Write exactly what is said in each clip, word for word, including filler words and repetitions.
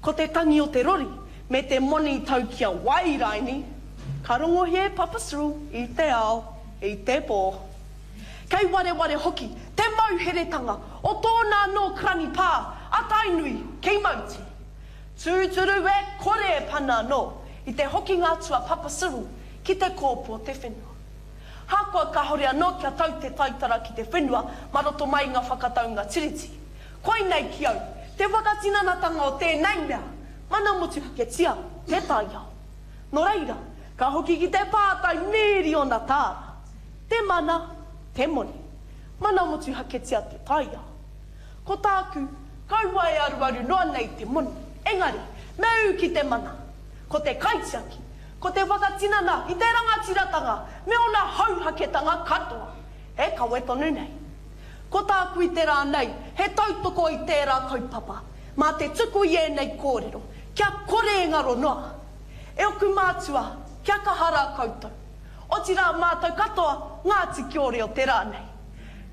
Ko te tangi o te rori me te moni tau ki a wai raini, ka rongohia e Papa Cyril i te ao, i te pō. Kei wareware hoki te mauheretanga o tōna anō karani pā a Tainui ki Mauti. Tūturu e kore e pana anō i te hokinga atu a Papa Cyril ki te kōpū o te whenua. Hakoa kāhore anō kia tau te taitara ki te whenua mā roto mai i ngā whakataunga tiriti. Koinei ki au, te whakatinanatanga o tēnei mea, mana motuhaketia te taiao. Nō reira, ka hoki ki te pātai mīriona tāra. Te mana, te moni. Mana motuhaketia te taiao. Ko tāku, kaua e aruaru noa nei te moni. Engari, me ū ki te mana. Ko te kaitiaki, ko te whakatinana i te rangatiratanga me ōna hauhaketanga katoa. E kawe tonu nei. Ko tāku i te rā nei, he tautoko i tērā kaupapa. Mā te tuku i ēnei kōrero, kia kore e ngaro noa. E oku mātua, kia kaha rā koutou. Otirā mātou katoa, Ngāti Kiore o te rā nei.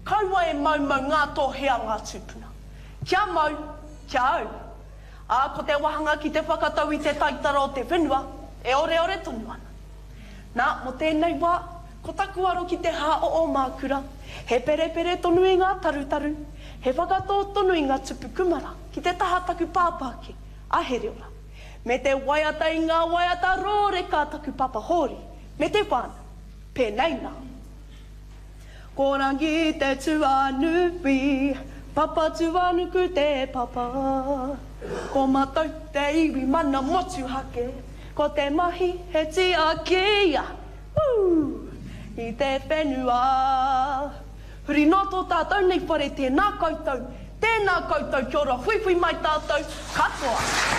Kaua e maumau ngā tohe a ngā tūpuna. Kia mau, kia au. Ā, ko te wāhanga ki te whakatau i te taitara o te whenua, e oreore tonu ana. Nā, mō tēnei wā, ko taku aro ki te hā o Ōmākura, he perepere tonu i ngā tarutaru, he whakatō tonu i ngā tupu kumara ki te taha taku pāpā ake, a Hereora. Me te waiata i ngā waiata rōreka a taku papa Hōri, me te whānau. Pēnei nā. Ko Rangi te tuanui, Papatūānuku te papa. Ko mātou te iwi mana motuhake, ko te mahi he tiaki, woo, i te whenua. Huri noa tō tātou nei whare, tēnā koutou, tēnā koutou, kia ora huihui mai tātou katoa.